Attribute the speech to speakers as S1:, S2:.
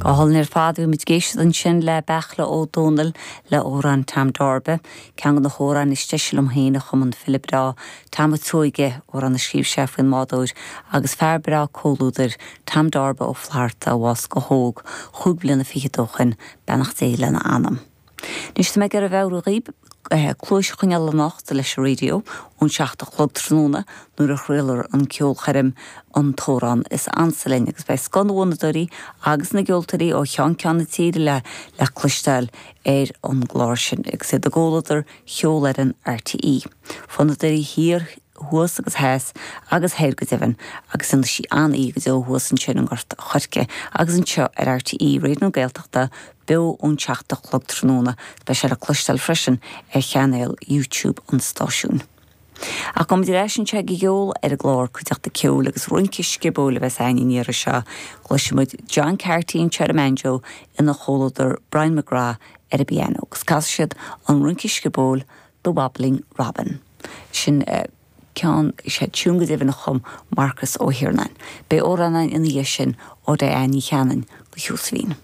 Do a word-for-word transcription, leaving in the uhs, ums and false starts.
S1: Go hálainn ar fad bhí muid ag éisteacht ansin le Beartla Ó Domhnaill le amhrán Tom Darba, ceann de na hamhráin is deise liom féin a chum an file breá Tom Ó Tuaige amhrán a scríobh sé faoin mbádóir agus fear breá comhluadair Tom Darba Ó Flatharta a bhásaigh go hóg chúig bliana fichead ó shin beannacht Dé lena anam. Anois tá mé ag meabhrú daoibh cluas a choinneáil anocht leis an raidió ón seacht a chlog tráthnóna nuair a chraolfar an ceolchoirm an t-amhrán is ansa linn agus beidh scoth na bhfonnadóirí agus na gceoltóirí ó cheann ceann na tíre le le cloisteáil ar an gclár sin agus iad i gcomhluadar cheolfhoireann RTÉ. Fonnadóirí thiar thuas agus theas agus thoir go deimhin agus ina sí an-oíche go deo thuas ansin i nGort an Choirce agus anseo ar RTÉ Raidió na Gaeltachta beo ón seacht a chlog tráthnóna, beidh sé le cloisteáil freisin ar chainéal YouTube an stáisiúin. Ach go leis an se go gceol ar an gclár cuideachta ceoil agus rince sciobóil a bheas againn an iarraidh seo, Cloisfimid John Carty anseo ar an mbanjo ina chomhluadar Brian McGrath ar an bpianó, agus casfaidh siad an rince sciobóil The Wobbling Robin. Sin uh, ceann sé tiún go deimhin a chum Marcus Ó hIarnáin. Beidh amhrán ina dhiaidh sin ó Diane Ní Chanainn go Sheosaimhín.